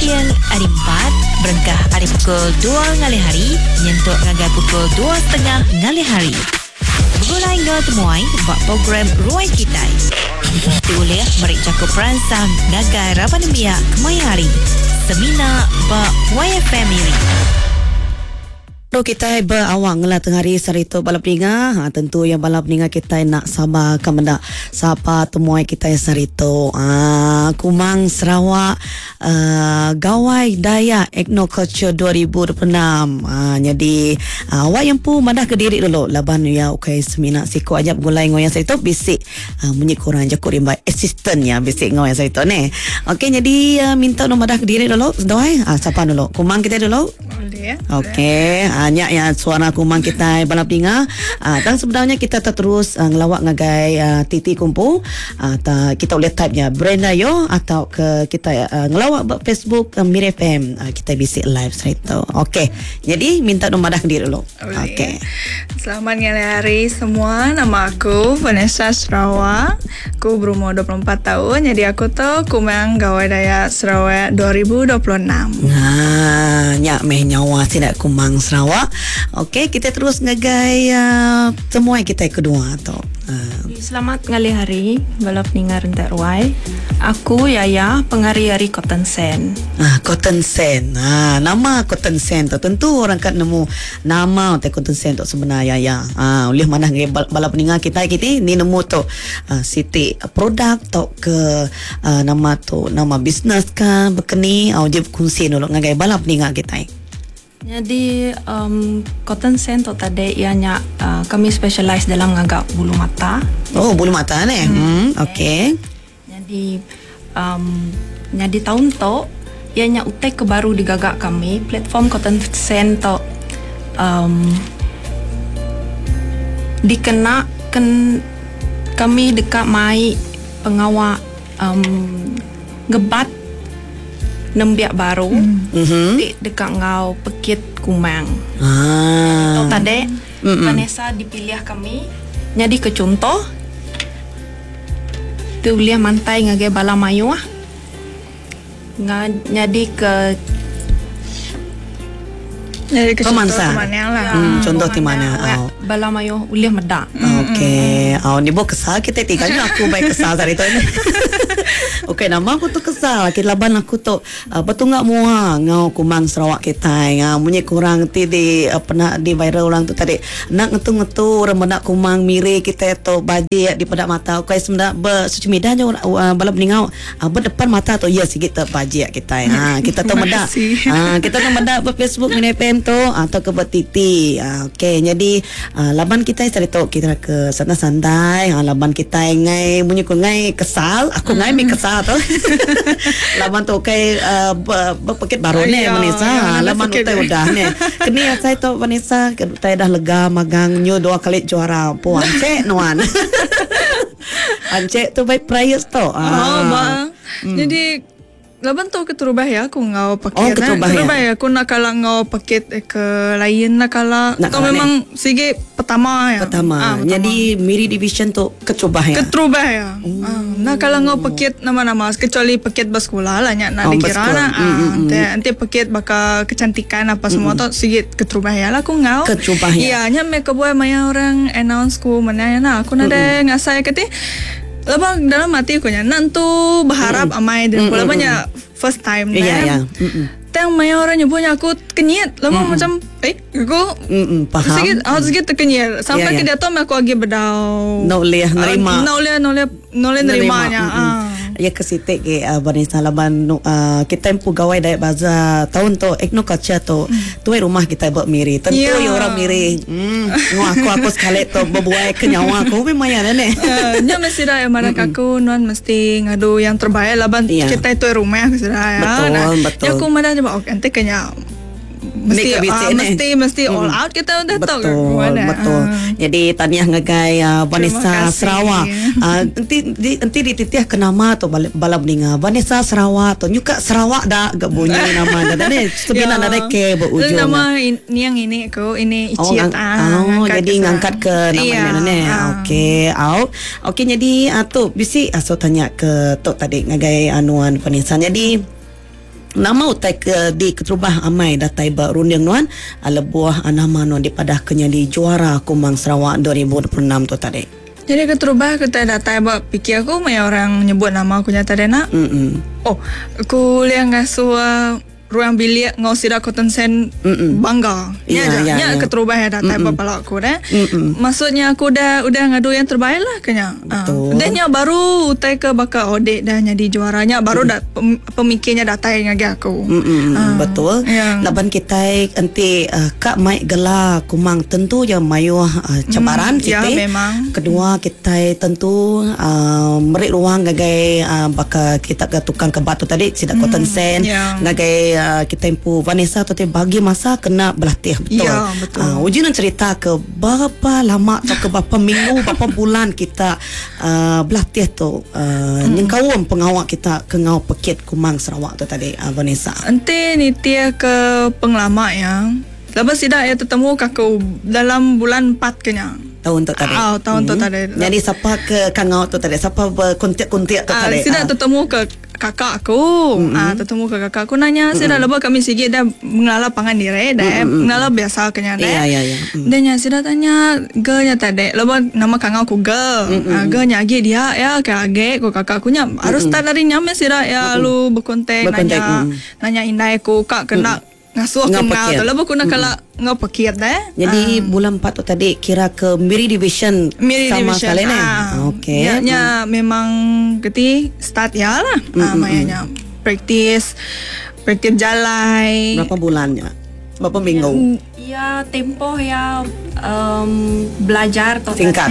Ninting Hari Empat berengkah ari pukul dua ngalih hari nyentuk ngagai pukul dua setengah ngalih hari. Begulai enggau temuai ba program Ruai Kitai ti ulih meri jaku peransang ngagai raban nembiak kemaya hari semina ba YFM Miri. Tu kitai beawang ngela tengah hari sehari tu bala peninga. Ha, tentu iya bala peninga kitai nak sabar ka meda sapa temuai kitai sehari tu. Ha, Kumang Sarawak uh, Gawai Dayak Ethnoculture 2026. Ha, nyadi uh, awak yang empu madah ke diri dulu laban iya ukai semina siku aja begulai enggau iya sehari tu bisi uh, munyi kurang jaku rimbai assistant iya bisi enggau iya sehari tu neh. Okey nyadi uh, minta nu madah ke diri dulu seduai. Ha, sapa dulu? Kumang kita dulu. Boleh. Okey, ha, nya ya suara kumang kitai bala peninga. Ha, tang sebenarnya kita terus uh, ngelawak ngagai uh, TT Kumpu. Uh, ta, kita boleh type nya Brenda Yo atau ke kita uh, ngelawak ba Facebook uh, Mir FM. Uh, kita bisi live straight tu. Okey. Jadi minta nu madah diri dulu. Okey. Selamat ngalih hari semua. Nama aku Vanessa Sarawak. Aku berumur 24 tahun. Jadi aku tu Kumang Gawai Dayak Sarawak 2026. Nah, nya meh nyawa sida Kumang Sarawak. Okey, kita terus ngagai uh, temuai kita kedua tu. Uh. Selamat ngalih hari bala peninga rentak ruai. Aku Yaya pengari ari Cotton Sand. Ah, Cotton Sand. Ah, nama Cotton Sand tu tentu orang kat nemu nama utai Cotton Sand tu sebenar Yaya. Ah, ulih manah ngagai bala peninga kitai kiti ni nemu tu ah, siti produk tau ke ah, nama tu nama bisnes ka bekeni ah, uji bekungsi dulu ngagai bala peninga kitai. Nyadi um cotton sand tu tadi iya nya uh, kami specialize dalam ngaga bulu mata. Oh, bulu mata neh. Hmm, okey. Nyadi um nyadi taun tu iya nya utai ke baru digaga kami platform cotton sand tu um dikena ken kami deka mai pengawa um ngebat nembiak baru ti deka enggau pekit kumang. Tu tadi Vanessa dipilih kami nyadika chunto ti ulih mantai ngagai bala mayuh nyadika Nyadika chunto Pemansang. ti manah lah. Hmm, contoh ti manah. Au. Bala mayuh ulih meda. Okey. Au ni bo kesal kita ti kan aku bai kesal tadi tu. Okey nama aku tu kesal ke laban aku tu uh, betunga mua ngau kumang Sarawak kitai. Uh, munyi kurang ti di uh, pernah di viral orang tu tadi. Nak ngetu-ngetu orang meda kumang miri kita tu bajik di peda mata. Okey sebenarnya be social media nya uh, bala peningau uh, berdepan mata tu ya sigi te bajik kitai. Ha kita tu meda. Ha kita tu meda ba Facebook Mini FM tu atau ke ba TT. Ha, okey jadi ha, laban kitai sehari tu kita ke santai-santai ha, laban kitai ngai munyi ku ngai kesal aku ngai mi kesal tu. laban tu kai uh, berpekit baru ni Vanessa. Ha, laban utai udah ni. Keni asai tu Vanessa utai dah lega magang nyu dua kali juara. Puan cek nuan. Ancik tu baik prayers tu. Oh, ah. ba. Jadi laban tu keterubah ya aku ngau paket. Oh, keterubah, keterubah ya. Aku nak kala ngau paket eh, ke lain nak kala. Nak Tu kala memang sigi pertama ya. Pertama. Ah, pertama. Jadi Miri Division tu keterubah ya. Keterubah ya. Ah, nak kala ngau paket nama-nama kecuali paket bersekolah lah nya nak Oh, dikira bersekolah. lah. Ah, nanti, nanti paket baka kecantikan apa semua tu sigi keterubah ya lah aku ngau. Keterubah ya. Iya, nya me kebuai maya orang announce ku mana ya nah aku nada ngasai kati. Lepas dalam hati aku nya nantu berharap amai dan pula banyak first time Iya, nah. iya. Mm-mm. Tang maya orang nyebutnya aku kenyit. Lama macam eh aku Mm-mm, faham. Sikit, aku sikit terkenyit. Sampai Ya, ke ya. dia tu aku lagi bedau. No boleh nerima. Ah, No boleh, no boleh, no boleh nerimanya. Mm-mm. Ah. Ya ke sitik ke uh, Vanessa laban uh, kita empu gawai Dayak Bazaar tahun tu Ethno Culture tu tuai rumah kita buat miri. Tentu Ya. ya orang miri. Hmm, ngau aku aku sekali tu berbuai ke nyawa aku memang ya ne. Eh, Nya mesti dah yang marah aku nuan mesti ngadu yang terbaik laban Ya. kita itu rumah aku sudah ya. Betul, betul. Ya aku marah coba oke nanti kayaknya mesti Ni ke bisik ah, ni. mesti mesti all out kita udah tahu Betul, betul. Ah. Jadi tahniah ngagai uh, Vanessa Terima kasih. Sarawak. Uh, nanti di, nanti dititiah ke nama tu bala, bala meninggal. Vanessa Sarawak tu nyuka Sarawak dah gak bunyi nama dah. Ni sebenarnya Ya. ada ke berujung. Nama in, ni yang ini aku ini Oh, Icit ngang, ah, oh jadi ke ngangkat ke nama Iya, nenek nenek. ah. Okey, au. Okey jadi uh, tu bisi uh, so tanya ke tu tadi ngagai anuan Vanessa. Jadi. Nama utai ke di keterubah amai datai ba runding nuan lebuh nama nuan dipadah ke nyadi juara Kumang Sarawak 2026 tu tadi? Nyadi keterubah ke utai datai ba pikir aku maya orang nyebut nama aku nya tadi ena. Oh, aku ulih ngasuh ruang bilik enggau sida Cotton Sand bangga. Nya aja. Nya keterubah iya datai ba pala aku deh. Maksudnya aku udah udah ngadu yang terbaik lah ke nya. Udah nya baru utai ke baka audit dah nyadi juara nya baru da pemikir nya datai ngagai aku. Betul. Laban kitai enti ka mai gela kumang tentu iya mayuh cabaran siti. Kedua kitai tentu meri ruang ngagai baka kita ke tukang kebat tu tadi sida cotton sand ngagai kitai empu Vanessa tu ti bagi masa kena belatih betul. Uji ne cerita ke berapa lama tauka berapa minggu berapa bulan kita belatih tu nyengkaum pengawa kita ke enggau pekit Kumang Sarawak tu tadi Vanessa. Enti nitih ke pengelama iya laban sida iya tetemu ke aku dalam bulan empat ke nya. Taun tu tadi. Au taun tu tadi. Nyadi sapa ke kangau tu tadi sapa bekuntik-kuntik tu tadi. Sida tetemu ke kakak aku ah tetemu ke kakak aku nanya sida lebuh kami sigi dah ngelala pangan diri dah ngelala biasa ke nya deh. Dah nya sida tanya girl nya tadi lebuh nama kangau ku girl ah girl nya agi dia ya ke agi ku kakak aku nya harus start ari nya meh sida iya lalu bekontak nanya nanya indai aku ka ke enda Ngasuh aku enggau tu lebuh ku enda kala enggau pekit deh. Nyadi bulan 4 tu tadi kira ke Miri Division Miri sama Division sekali neh. Ah. Okey. Nya nya memang keti start iya lah. Ah maya nya praktis praktis bejalai. Berapa bulan nya? Berapa minggu? Iya tempoh iya um belajar tu Singkat.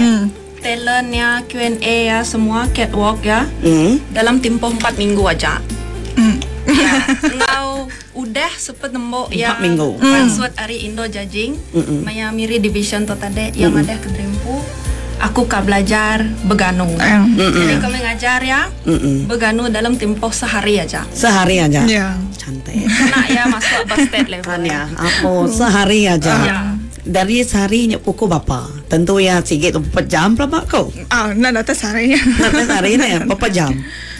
Talent iya, Q&A iya, semua catwalk iya dalam tempoh empat minggu aja. Iya enggau Udah sepet nembo iya pansut ari Indo Judging maya Miri Division tu tadi iya madah ke Drimpu aku ka belajar beganu. Jadi kami ngajar iya beganu dalam tempoh sehari aja. Sehari aja. Cantik. Kena iya masuk ba state level. Kan iya. Apo sehari aja. Dari sehari nya pukul berapa? Tentu iya sigi tu berapa jam pelaba ko. Ah, enda datai sehari. Enda datai sehari neh, berapa jam?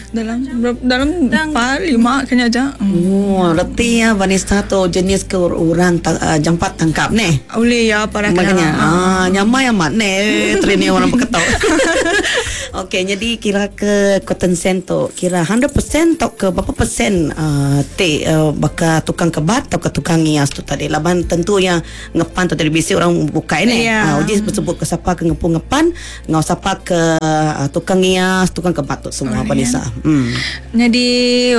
Dalam dalam empat lima kenya aja. Oh, reti iya Vanessa tu jenis ke orang jampat tangkap neh. Ulih iya padah kena. Makanya ah nyamai amat neh training orang beketok. Okey, nyadi kira ke cotton sand tu kira 100% tauka berapa persen uh, ti uh, baka tukang kebat tauka tukang ngias tu tadi laban tentu iya ngepan tu tadi bisi orang bukai neh. Yeah. Uh, uji besebut ke sapa ke ngepu ngepan Enggau sapa ke tukang ngias, tukang kebat tu semua Vanessa. Hmm. Nyadi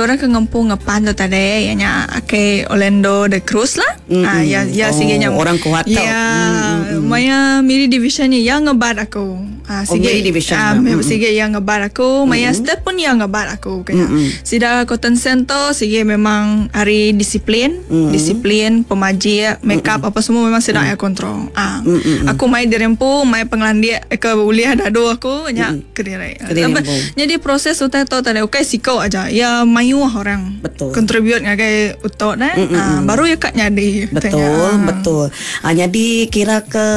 orang ke ngempu ngepan tu tadi iya nya ake Orlando de Cruz lah. Mm Ah ya ya oh, sige nya orang kuat tu. Ya mm. maya Miri Division ni ya ngebat aku. Ah oh, sige oh, Miri Division. Ah mm. sige ya ngebat aku, maya mm. step pun ya ngebat aku kaya. Mm. Sida Cotton Center sige memang ari disiplin, disiplin, pemajik, make up apa semua memang sida ya kontrol. Ah aku mai diri empu, mai pengelandik ke ulih dadu aku nya kediri. Kediri empu. Nyadi proses utai tu tadi ukai siko aja, ya mayuh orang Betul. contribute ngagai utok ne, ah baru ya ka nyadi. Betul, betul. Ah nyadi kira ke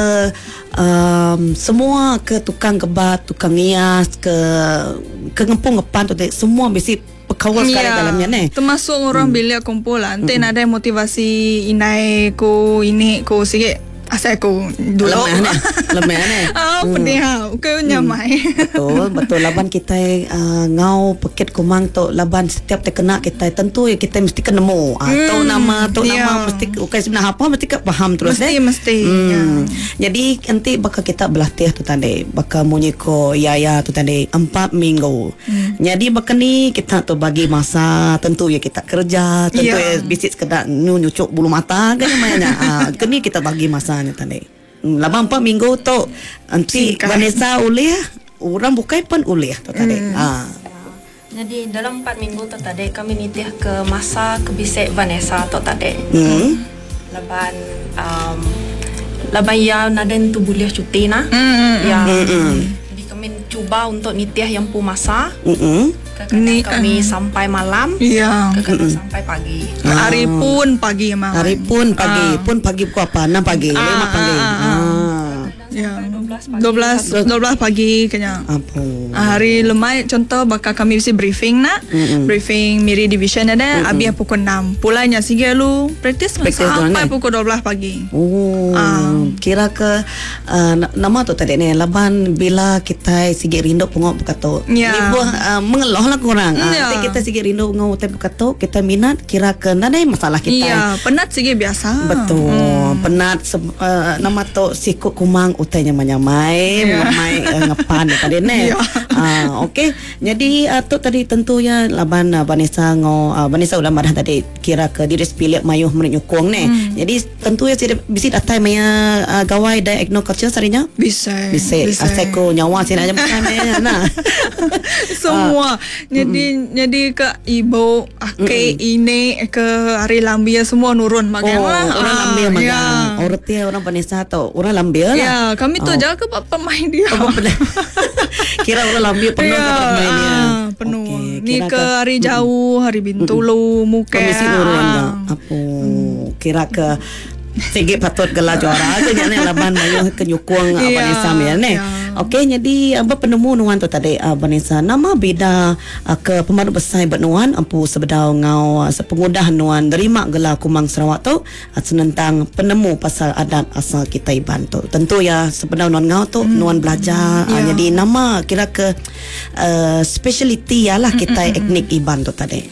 um semua ke tukang kebat, tukang ngias ke ke ngempu ngepan tu ti semua bisi bekaul sekali Ya, dalam nya neh. Termasuk orang bilik kumpul lah. Enti nadai motivasi indai ku ini ku sigi asai ku dulu. Lemah neh. Lemah neh. Ah, pedih ha. Ukai nyamai. Betul, betul laban kitai uh, ngau pekit kumang tu laban setiap tekena kitai tentu ya kitai mesti ke nemu. Ah, tu nama, tu ya. nama mesti ukai sebenarnya apa mesti ke faham terus Mesti eh. mesti. Ya. Jadi enti baka kita belatih tu tadi baka munyi ko yaya tu tadi empat minggu. Nyadi baka ni kita tu bagi masa tentu ya kita kerja tentu Ya. ya bisi sekeda nyu nyucuk bulu mata ke nama nya. Ah keni kita bagi masa nya tadi. Laban empat minggu tu enti Singkat. Vanessa ulih orang bukai pun ulih tu tadi. Ah. Nyadi dalam empat minggu tu tadi kami nitih ke masa ke bisi Vanessa tu tadi. Laban um laban iya nadai nentu bulih cuti nah. Iya. Jadi kami cuba untuk nitih iya empu masa. Kekadang kami sampai malam, Iya. kekadang sampai pagi. Hari pun pagi memang. Hari pun pagi, pun pagi pukul apa? 6 pagi, 5 pagi. Ah. Ya. Sampai 12 12 pagi. 12 12 pagi kenya. Apo. Hari lemai contoh bakal kami bisi briefing nak. Mm-mm. Briefing Miri Division ada habis pukul 6. Pulainya sigi lu practice, practice sampai pukul 12 pagi. Oh. Kira ke nama tu tadi ni laban bila kita sigi rindu pengok buka tu. Yeah. Ni buah mengeloh lah kurang. Yeah. Kita sigi rindu ngau utai buka tu, kita minat kira ke nadai masalah kita. Ya, yeah, penat sigi biasa. Betul. Penat nama tu sikut kumang utai nyamai-nyamai, yeah. Mai ngepan tadi ni. Yeah. Okey. Jadi tu tadi tentu ya laban Vanessa ngau Vanessa udah madah tadi kira ke diri sepilih mayuh menyukung ni. Jadi tentu ya bisi datai maya gawai dai ethnoculture sarinya? Bisa. Bisa. Asal nyawa sini aja makan nah. Semua. Jadi jadi ke ibu, ake, ini ke hari lambia semua nurun magang lah. Orang lambia magang. Ya. Orang tia orang Vanessa tu orang lambia lah. Ya, kami tu jaga ke pemain dia. Kira orang lambia penuh ya, ke pemain dia. Penuh. Okay, ni ke hari jauh, hari Bintulu, Muka. Komisi nurun dah. Apa kira ke sigi patut gelar juara ke nya ni laban mayu ke nyukung Vanessa ya ni. Okey, jadi apa penemu nuan tu tadi Vanessa nama beda ke pemadu besar bernuan empu sebedau ngau sepengudah nuan nerima gelar Kumang Sarawak tu senentang penemu pasal adat asal kita Iban tu. Tentu ya sebedau nuan ngau tu nuan belajar jadi nama kira ke speciality ya lah kita etnik Iban tu tadi.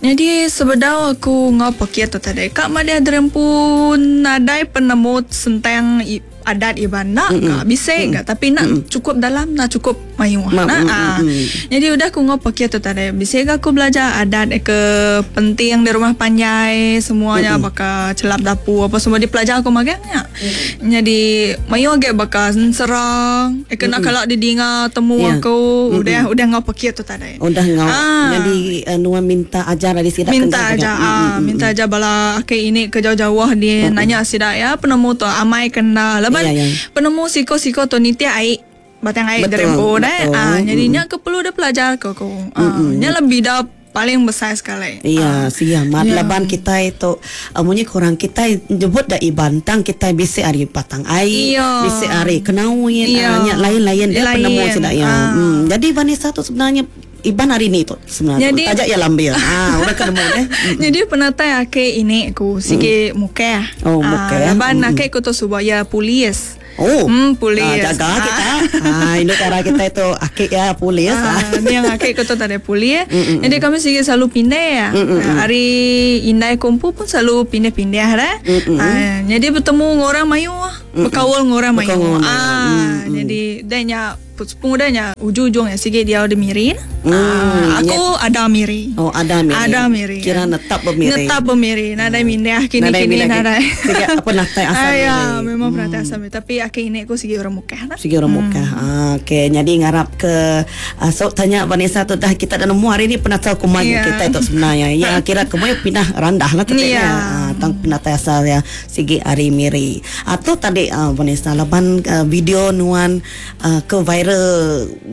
Jadi sebedau aku ngau pakai tu tadi kak madia derempu nadai penemu sentang adat Iban nak mm bisa enggak tapi nak cukup dalam nak cukup mayu nak. Jadi udah aku ngau pakai tu tadi bisa aku belajar adat ke penting di rumah panjai semuanya bakal celap dapur apa semua dipelajar aku magangnya. Jadi mayu agak bakal serang kena kalau didinga temu aku udah udah ngau pakai tu tadi. Udah ngau. Jadi nuan minta ajar dari sidak minta ajar minta ajar bala ake ini ke jauh-jauh dia nanya sidak ya penemu tu amai kena leban penemu siko-siko tu nitia ai batang ai derempo deh. Jadi nya ke perlu dia pelajar ke aku. Nya lebih dah paling besar sekali. Iya, sia mat laban kita itu munyi kurang kita jebut dah Iban tang kita bisa ari batang ai, bisa ari kenauin nya lain-lain dia penemu sidak ya. Jadi Vanessa tu sebenarnya Iban hari ni tu sebenarnya. Jadi tajak ya lambia. Orang ketemu eh. Jadi penatai ake ini aku sikit muka. Oh, muka. Laban ake aku tu subaya polis. Oh, polis. Jaga kita. Induk cara kita itu akik ya polis. Ni yang akik aku tu tak ada polis. Jadi kami sikit selalu pindah ya. Hari indai kumpul pun selalu pindah-pindah dah. Jadi bertemu orang mayu, berkawal orang mayu. Jadi danya pengudahnya ujung-ujungnya sikit dia ada miri. Aku ada miri. Oh, ada miri. Ada miri. Kira netap bermiri. Netap bermiri. Nadai mindah kini-kini nadai. Sikit apa natai asal miri. Ya, memang penatai asal miri. Tapi akhir ini aku sigi orang Mukah lah. Sigi orang Mukah. Okey, jadi ngarap ke so tanya Vanessa tu dah kita dah nemu hari ni penatai kumai kita itu sebenarnya. Ya, kira kumai pindah randah lah tetapnya. Tang penatai asal ya sigi hari miri. Atau tadi Vanessa laban video nuan ke viral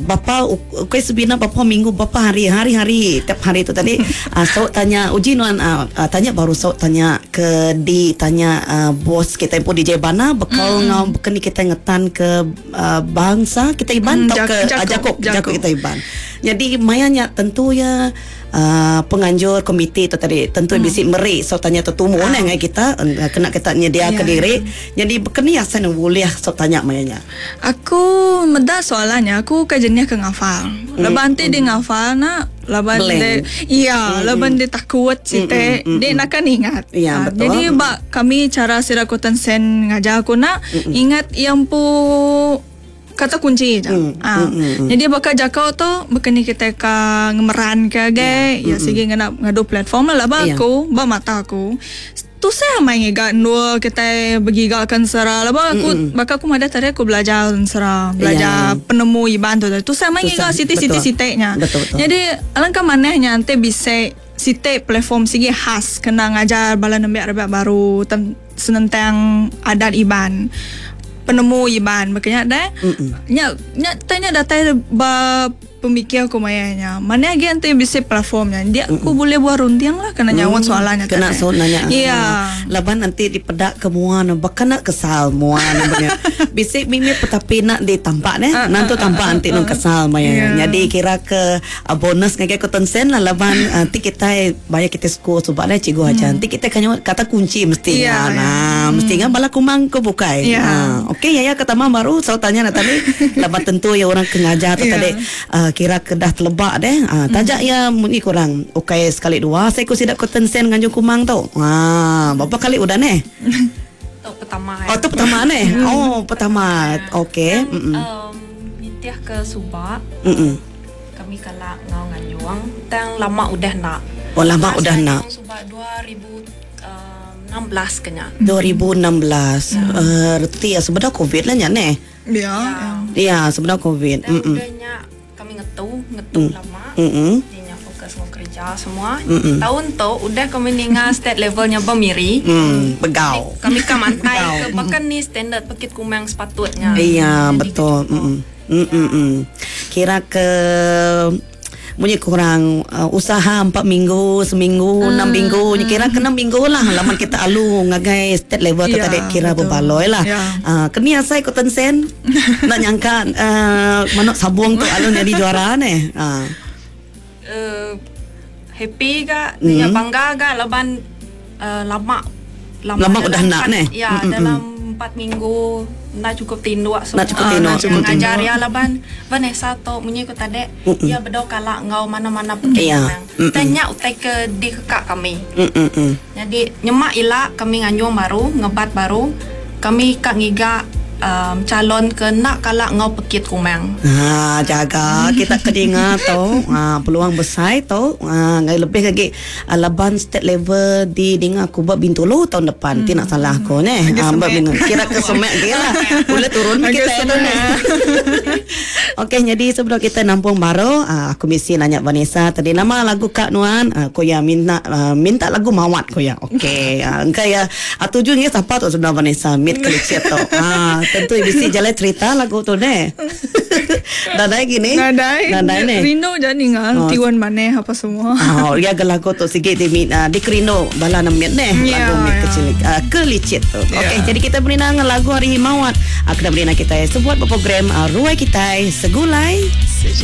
bapa okey sebina bapa minggu bapa hari hari tiap hari tu tadi so tanya uji nuan tanya baru so tanya ke di tanya bos kita pun DJ Bana bekal ngau kini kita ngetan ke bangsa kita Iban atau ke Jakop Jakop kita Iban. Jadi mayanya tentu ya penganjur komiti tu tadi tentu bisi meri so tanya tertumu uh. kita kena kita nyedia ke diri. Jadi bekeni asan boleh so tanya mayanya. Aku meda soalannya aku ke jenis ke ngafal. Leban ti dia ngafal nak laban dia iya laban dia takut site dia nak kan ingat. Ya, betul. Jadi bak kami cara sirakutan sen ngajar aku nak ingat yang pu kata kunci je. Jadi bakal jakau tu bukan kita ka ngemeran ke ge ya sigi ngena ngadu platform lah ba aku ba mata aku. Tu saya main ngiga nua kita bergigakan sera lah ba aku bakal aku ada tadi aku belajar sera belajar penemu iban tu tu saya main ngiga siti-siti siteknya. Jadi alangkah manehnya nanti bisa site platform sigi khas kena ngajar bala nembiak rebak baru senentang adat iban penemu iban makanya dah nya nya tanya datai ba Pemikir aku maya nya. Mana agi enti bisi platform nya. Dia aku boleh buah runding lah kena nyaut soalan nya Kena tadi. saut nanya. Iya. Laban enti dipeda ke mua ne baka enda kesal mua ne menya. Bisi mimit petapi enda ditampak neh. Nan tu tampak enti nang kesal maya nya. Nyadi kira ke bonus ngagai Cotton Sen lah laban enti kitai baya kitai school suba neh cikgu ajar enti kitai ka nyaut kata kunchi mesti Iya, nga. Nah mesti nga bala kumang ke bukai. Iya. Okey yaya ke tambah baru saut tanya ne tadi laban tentu iya orang ke ngajar tu tadi. Kira ke dah teleba deh. Taja iya munyi kurang ukai sekali dua seiku sida Cotton Sen nganjung kumang tu. Haa berapa kali udah neh? Tu pertama. Oh tu pertama neh. Oh pertama. Okey. Um nitih ke suba. Kami kala enggau nganjung tang lama udah enda. Oh lama udah enda. Suba 2016 ke nya. 2016. Reti iya sebedau covid lah nya neh. Ya. Ya, sebedau covid. Dan udah nya kami ngetu, ngetu lama. Di nya fokus enggau kerja semua. Taun tu udah kami ninga state level nya ba Miri. Begau. Kami ka mantai ke baka ni standard pekit kumang sepatut nya. Iya, betul. Kira ke Munyi kurang usaha empat minggu, seminggu, enam minggu nya kira ke enam minggu lah laban kita alu ngagai state level tu tadi kira bebaloi lah. Keni asai ku Tensen enda nyangka manok sabung tu alu nyadi juara neh. Happy ga nya bangga ga laban lama lama udah enda neh. Ya dalam empat minggu enda chukup tinduk semua ngajar iya laban Vanessa tu munyi ku tadi iya bedau kala enggau mana-mana pekit menang. Utai nya utai ke dikeka kami. Nyadi nyema ila kami nganjung baru ngebat baru kami ka ngiga Chalon ke enda kala enggau pekit kumang. Haa jaga kita ke dinga tu haa peluang besai tu haa ngagai lebih agi laban state level di dinga aku ba Bintulu taun depan ti nak salah aku neh haa ba Bintulu kira ke semak agi lah ulih turun meh kitai tu neh. Okey nyadi sebedau kita nampung baru haa aku bisi nanya Vanessa tadi nama lagu ka nuan haa ku iya minta minta lagu mawat ku iya okey engka iya Tuju ngi sapa tu sebenar Vanessa mit kelicit tu. Ha tentu bisi jalai cerita lagu tu neh. Nadai gini. Nadai. Nadai neh. Rindu ja ninga oh. tiun maneh apa semua. Oh, ya ga lagu tu sigi di uh, dikerindu bala nemit neh yeah, lagu mit yeah. kecil uh, kelicit tu. Yeah. Okey, jadi kita beri nang lagu hari mawat. Uh, kena beri kita sebuat program uh, ruai kita segulai.